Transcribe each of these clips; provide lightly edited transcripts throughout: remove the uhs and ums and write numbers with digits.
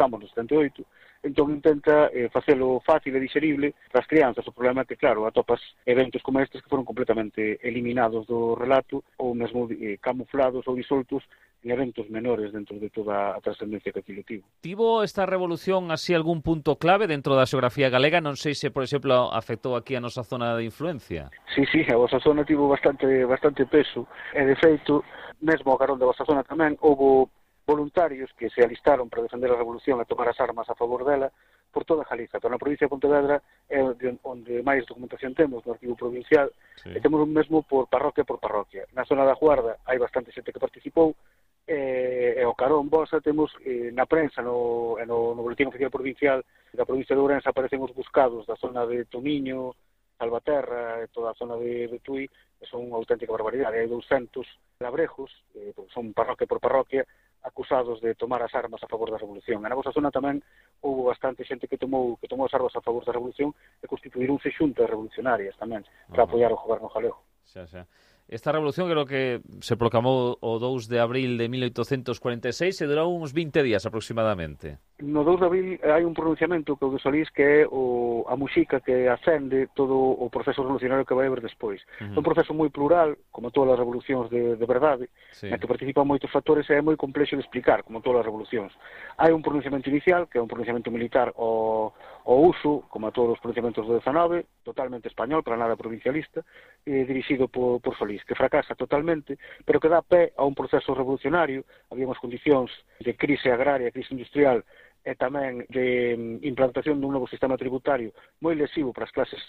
estamos no 78, entón intenta facelo fácil e digerible para as crianzas. O problema é que, claro, atopas eventos como estes que foron completamente eliminados do relato ou mesmo camuflados ou disoltos en eventos menores dentro de toda a trascendencia que aquilo tivo. Tivo esta revolución así algún punto clave dentro da xeografía galega? Non sei se, por exemplo, afectou aquí a nosa zona de influencia. Sí, a vosa zona tivo bastante peso, e de feito, mesmo ao carón da vosa zona tamén, houve voluntarios que se alistaron para defender a revolución e tomar as armas a favor dela por toda Galiza. Pero na provincia de Pontevedra é onde máis documentación temos, no arquivo provincial, e temos mesmo por parroquia. Na zona da Guarda hai bastante xente que participou, e o carón vosa temos na prensa, no boletín oficial provincial da provincia de Ourense aparecen os buscados da zona de Tomiño, Salvaterra e toda a zona de Tui, que son unha auténtica barbaridade. Hai 200 labrejos, son parroquia por parroquia, acusados de tomar as armas a favor da revolución. Na nosa zona tamén houve bastante xente que tomou as armas a favor da revolución e constituíronse xuntas revolucionarias tamén para apoiar o goberno galego. Xa. Esta revolución creo que se proclamou o 2 de abril de 1846 e durou uns 20 días aproximadamente. No 2 de abril hai un pronunciamento que o de Solís que é a muxica que acende todo o proceso revolucionario que vai haber despois. É un proceso moi plural, como todas as revolucións de verdade, na que participan moitos factores e é moi complexo de explicar, como todas as revolucións. Hai un pronunciamento inicial, que é un pronunciamento militar ao uso, como a todos os pronunciamentos do 19, totalmente español, para nada provincialista, dirixido por Solís, que fracasa totalmente, pero que dá pé a un proceso revolucionario. Había unhas condicións de crise agraria, crise industrial, e tamén de implantación dun novo sistema tributario moi lesivo para as clases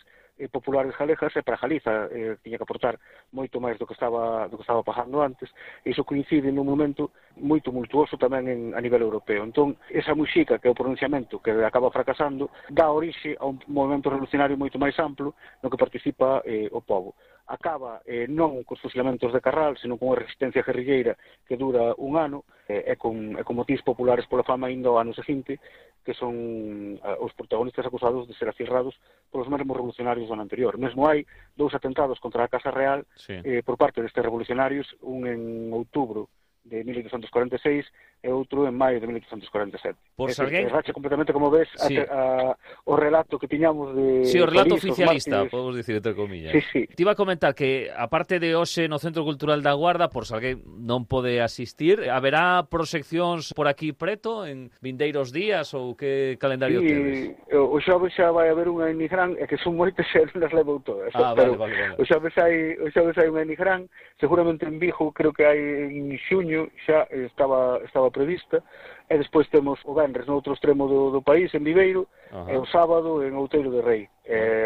populares galegas, e para Galiza tiña que aportar moito máis do que estaba pagando antes, e iso coincide nun momento moi tumultuoso tamén a nivel europeo. Entón, esa muxica, que é o pronunciamento que acaba fracasando, dá orixe a un movimento revolucionario moito máis amplo no que participa o povo. Acaba non cos fusilamentos de Carral, senón con unha resistencia guerrilleira que dura un ano, e con motivos populares pola fama indo ao ano seguinte, que son os protagonistas acusados de ser acirrados polos mesmos revolucionarios do ano anterior. Mesmo hai 2 atentados contra a Casa Real por parte destes revolucionarios, un en outubro de 1846 e outro en maio de 1847. Racha completamente, como ves, o relato que tiñamos de... Sí, o relato oficialista, podemos dicir, entre comillas. Sí. Te iba a comentar que, aparte de hoxe no Centro Cultural da Guarda, por se alguén non pode asistir, haberá proxeccións por aquí preto, en vindeiros días, ou que calendario tedes? O xoves xa vai haber unha en Nigrán, e que son moitas e non as levou todas. Vale. O xoves hai unha en Nigrán, seguramente en Vigo, creo que hai en xuño, xa estaba prevista, e despois temos o venres no outro extremo do país, en Viveiro, e o sábado en Outeiro de Rei.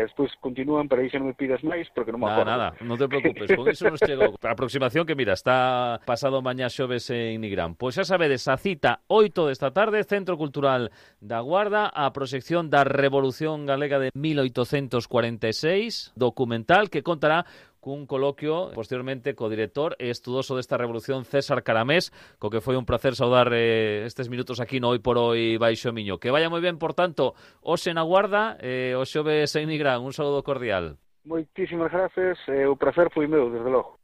Despois continúan, para aí xa non me pidas máis, porque non me acordo. Nada, non te preocupes, con iso nos chegou. A aproximación que, mira, está pasado mañá xoves en Nigrán. Pois xa sabedes, a cita 8 desta tarde, Centro Cultural da Guarda, a proxección da Revolución Galega de 1846, documental que contará cun coloquio posteriormente co director e estudoso desta revolución, César Caramés, co que foi un placer saudar estes minutos aquí no Hoy por Hoy Baixo Miño. Que vaya moi ben, por tanto, hoxe na Guarda, o xoves en Nigrán. Un saúdo cordial. Moitísimas gracias, o placer foi meu, desde logo.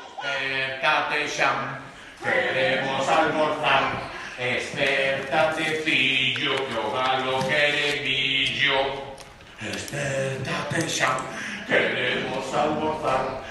Espértate, Xan, queremos almorzar. Espértate, fillo, que o galo quere millo. Espértate, Xan, queremos almorzar.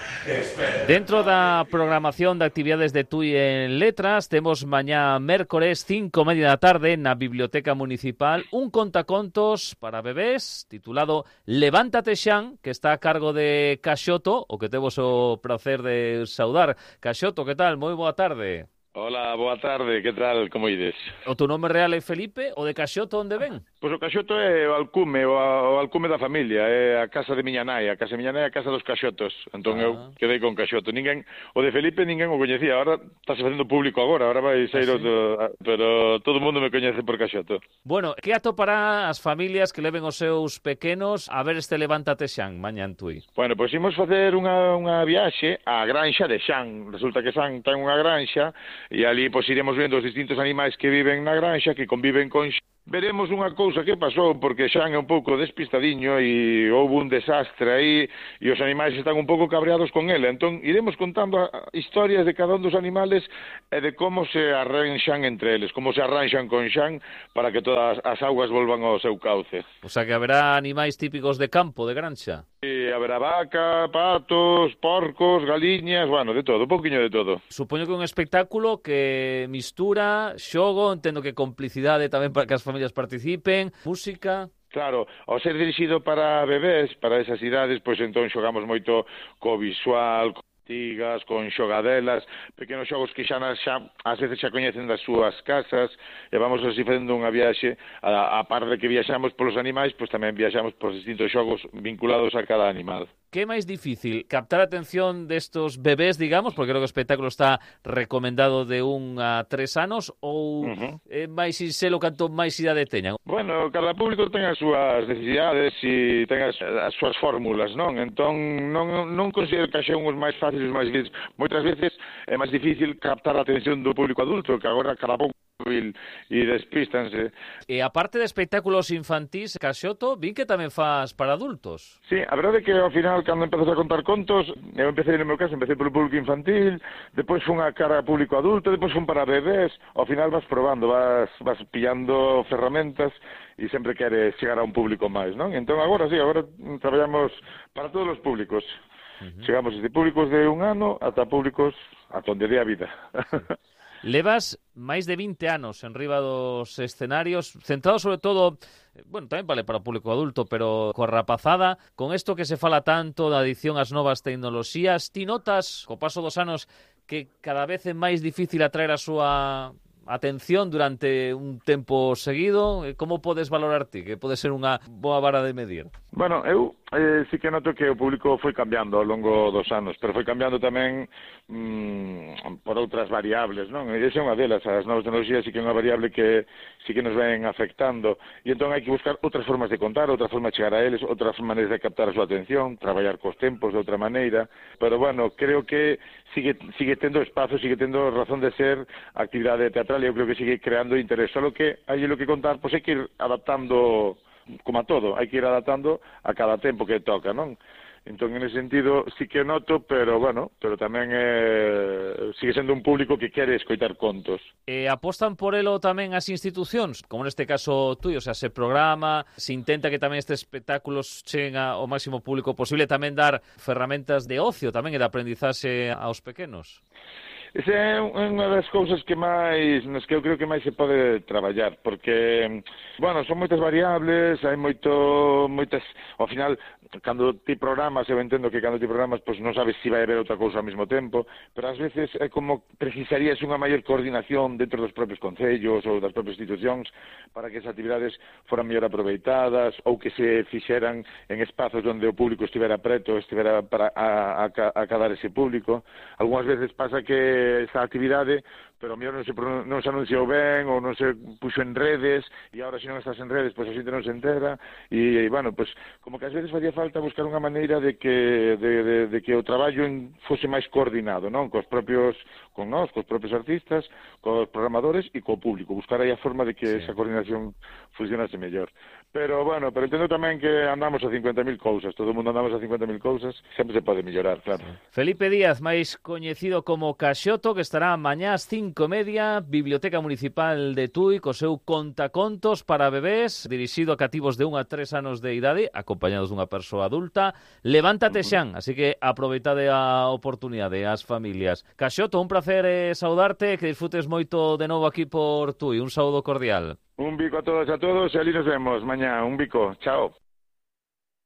Dentro da programación de actividades de TUI en Letras, temos mañá mércores 5:30 da tarde na Biblioteca Municipal un contacontos para bebés titulado Levántate, Xan, que está a cargo de Caxoto, o que temos o placer de saudar. Caxoto, que tal? Moi boa tarde. Hola, boa tarde, que tal, como ides? O teu nome real é Felipe, o de Caxoto onde ven? Pois o Caxoto é o alcume da familia, é a casa de miña nai, a casa de miña nai é a casa dos Caxotos, entón eu quedei con Caxoto. O de Felipe ninguén o coñecía, agora está se facendo público agora vai ser pero todo o mundo me coñece por Caxoto. Bueno, que atopará as familias que leven os seus pequenos a ver este Levántate, Xan, mañá en Tui? Bueno, pois imos facer unha viaxe á granxa de Xan. Resulta que Xan ten unha granxa e ali pois iremos vendo os distintos animais que viven na granxa, que conviven con Xan. Veremos unha cousa que pasou, porque Xan é un pouco despistadiño e houve un desastre aí e os animais están un pouco cabreados con ele. Entón, iremos contando historias de cada un dos animales e de como se arranxan entre eles, como se arranxan con Xan para que todas as augas volvan ao seu cauce. O sea que haberá animais típicos de campo, de granxa. E haberá vaca, patos, porcos, galiñas, bueno, de todo, un poquinho de todo. Supoño que un espectáculo que mistura xogo, entendo que complicidade tamén para que as familias participen, música... Claro, ao ser dirixido para bebés, para esas idades, pois entón xogamos moito co visual, tigas, con xogadelas, pequenos xogos que xa ás veces xa coñecen das súas casas, e vamos así facendo unha viaxe, a par de que viaxamos polos animais, pois tamén viaxamos por distintos xogos vinculados a cada animal. Que é máis difícil? Captar a atención destos bebés, digamos, porque creo que o espectáculo está recomendado de 1 a 3 anos, ou é máis sinxelo canto máis idade teñan? Bueno, cada público ten as súas necesidades e ten as súas fórmulas, non? Entón, non considero que xa unhos máis fáciles, máis difíciles. Moitas veces é máis difícil captar a atención do público adulto, que agora cada pouco e despístanse. E aparte de espectáculos infantís, Caxoto, vin que tamén faz para adultos. Sí, a verdade é que ao final, cando empezas a contar contos, eu empecé, no meu caso, empecé polo público infantil, depois fun a cara a público adulto, depois fun para bebés, ao final vas probando, vas pillando ferramentas e sempre queres chegar a un público máis, non? Entón agora sí, agora traballamos para todos os públicos. Chegamos desde públicos de 1 ano ata públicos ata onde dé a vida. Levas máis de 20 anos en riba dos escenarios, centrado sobre todo, bueno, tamén vale para o público adulto, pero coa rapazada, con isto que se fala tanto da adición ás novas tecnoloxías, ti notas, co paso dos anos, que cada vez é máis difícil atraer a súa atención durante un tempo seguido? Como podes valorar ti? Que pode ser unha boa vara de medir? Bueno, eu sí que noto que o público foi cambiando ao longo dos anos, pero foi cambiando tamén por outras variables, non? E esa é unha delas, as novas tecnologías sí que é unha variable que sí que nos ven afectando, e entón hai que buscar outras formas de contar, outra forma de chegar a eles, outras maneiras de captar a súa atención, traballar cos tempos de outra maneira, pero bueno, creo que sigue tendo espazo, sigue tendo razón de ser a actividade teatral, e eu creo que sigue creando interés, só que hai lo que contar, pois hai que ir adaptando, como a todo, hai que ir adaptando a cada tempo que toca, non? Entón, en ese sentido, sí que noto, pero bueno, pero tamén sigue sendo un público que quere escoitar contos. Apostan por elo tamén as institucións, como neste caso tuyo, o sea, se programa, se intenta que tamén estes espectáculos cheguen ao máximo público posible, tamén dar ferramentas de ocio, tamén e de aprendizaxe aos pequenos. Esa é unha das cousas que máis, nas que eu creo que máis se pode traballar, porque, bueno, son moitas variables, hai moitas, ao final, cando ti programas, eu entendo que cando ti programas, pois non sabes se vai haber outra cousa ao mesmo tempo, pero ás veces é como precisarías unha maior coordinación dentro dos propios concellos ou das propias institucións para que esas actividades foran mellor aproveitadas ou que se fixeran en espazos onde o público estivera preto, estivera para acadar ese público. Algúnas veces pasa que esa actividade, pero mellor non se anunciou ben ou non se puxo en redes, e agora se non estás en redes, pois a xente non se entera, e bueno, pois como que ás veces facía falta buscar unha maneira de que o traballo fose máis coordinado, non? Cos propios artistas, cos programadores e co público, buscar aí a forma de que esa coordinación funcionase mellor. Pero bueno, pero entendo tamén que andamos a 50.000 cousas, todo o mundo andamos a 50.000 cousas, sempre se pode mellorar, claro. Felipe Díaz, máis coñecido como Caxoto, que estará mañá ás 5:30, Biblioteca Municipal de Tui, co seu contacontos para bebés, dirixido a cativos de 1 a 3 anos de idade, acompañados dunha persoa adulta. Levántate Xan, así que aproveitade a oportunidade, as familias. Caxoto, un placer saudarte, que disfrutes moito de novo aquí por Tui, un saúdo cordial. Un bico a todos e ali nos vemos mañá, un bico, chao.